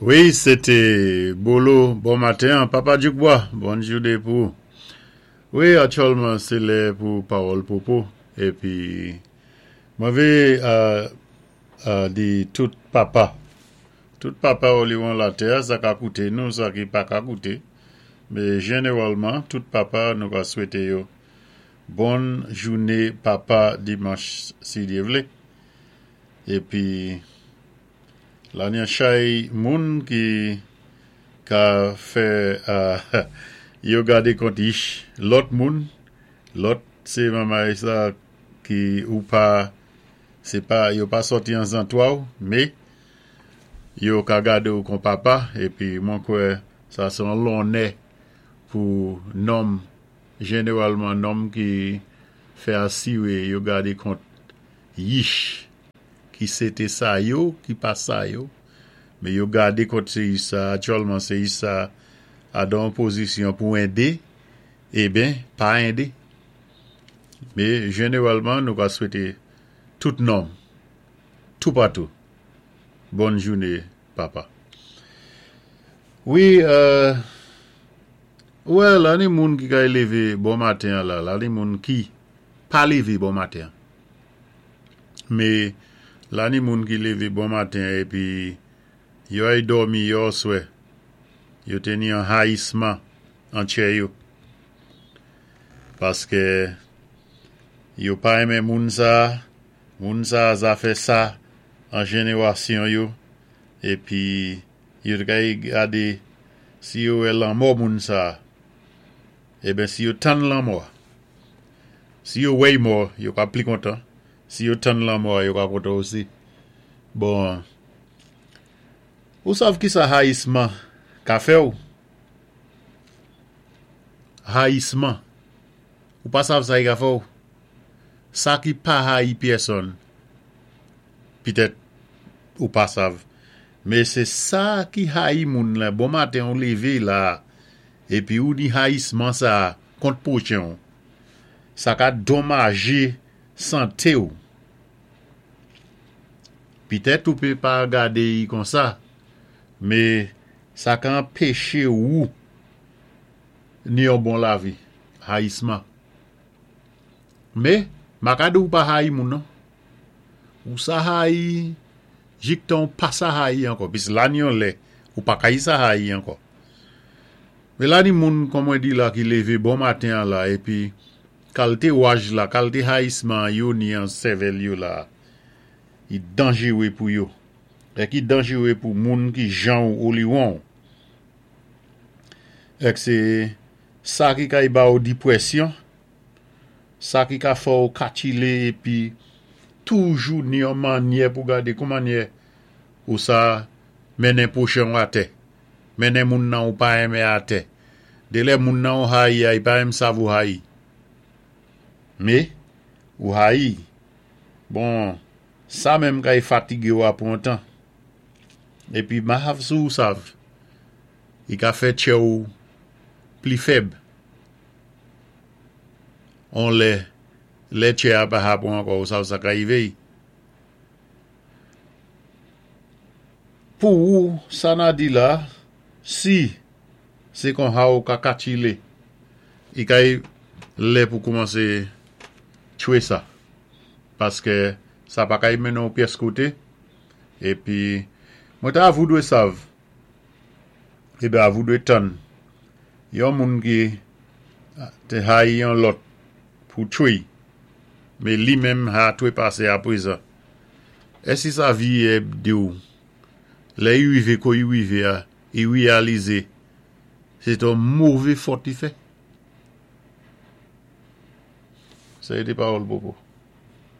Wi se te Bolo bon maten an papa Djoukbwa bòn jounen pou ou. Wi aktyèlman se lè pou pawòl popo epi mwen vle di tout papa tout papa oliwon latè sa ka koute nou sa ki pa ka koute men jeneralman tout papa nou ka swete yo bòn joune papa dimanch si Dye vle epi. Lanya chay moun ki ka fè yo gade kont ich lòt moun lòt se mamay sa ki ou pa se pa yo pa sòti an zantwa w me yo ka gade w kon papa epi mwen kwè sa se yon lonnè pou nonm jeneralman nonm ki fè asire yo gade kont yich. Ki se te sa yo, ki pa sa yo, men yo gade kont seyis sa, aktyèlman seyis sa a dan yon pozisyon pou ende, eben, pa ende. Men, jeneralman, nou ka swete tout nonm, toupatou, bòn joune, papa. Wi, ou wè, la ni moun ki kay leve bon maten an la, la ni moun ki pa leve bon maten an. Me la ni moun ki leve bon maten epi yo ay dòmi yòswè, yo te ni yon hayisman an tchè yo. Paske yo pa renmen moun sa, moun sa zafè sa an jenerasyon yo, epi yo te kay gade si yo wè lanmò moun sa, eben si yo tann lanmò a. Si yo wèy mò, yo ka pli kontan. Si yo tann lanmò a, yo ka kontan osi. Bon, ou sav kisa hayisman ka fè w? Hayisman. Ou pa sav sa i ka fè w? Sa ki pa hayi pyèsonn, pitèt ou pa sav. Men se sa ki hayi moun la, bon maten ou leve la, epi ou ni hayisman sa a kont pwochen w. Sa ka donmaje sante w. Pitèt ou pe pa gade i konsa, me sa ka anpeche wou ni yon bon lavi, hayisman. Me, ma ka di w pa hayi moun non. Ou sa hayi jiktan w pa sa hayi ankò, pis la ni yon lè ou pa ka yi sa hayi ankò. Men la ni moun kon mwen di la ki leve bon maten an la epi kalte waj la, kalte hayisman an yo ni an sèvèl yo la, i danjere pou yo. Èk i danjere pou moun ki jan ou oliwon ou. Èk se sa ki kay ba ou dipwèsyon, sa ki ka fè ou katchile epi toujou ni yon mannyè pou gade kou mannyè ou sa mennen pwochen ou atè. Mennen moun nan ou pa renmen atè. Delè moun nan ou hayi a i pa menm sav ou hayi. Me, ou hayi. Bon, sa menm kay fatige ou apre yon tan. Epi mahav sou ou sav. I ka fè tchè ou pli fèb. On lè, lè tchè a pa hapon ankò ou sav sa ka rive i. Pou ou sa na di la si se kon ha ou ka katchile i kay lè pou koumanse tchwe sa paske sa pa kay mennen ou pyès kote epi mwen ta avou dwe sav ebe avou dwe tann yon moun ki te hayi yon lòt pou tchwe me li menm ha twe pase aprezan. Èsi sa viyè diw lè i rive ko i rive a i reyalize se te yon move fòt li fè? Sa e te pawòl popo.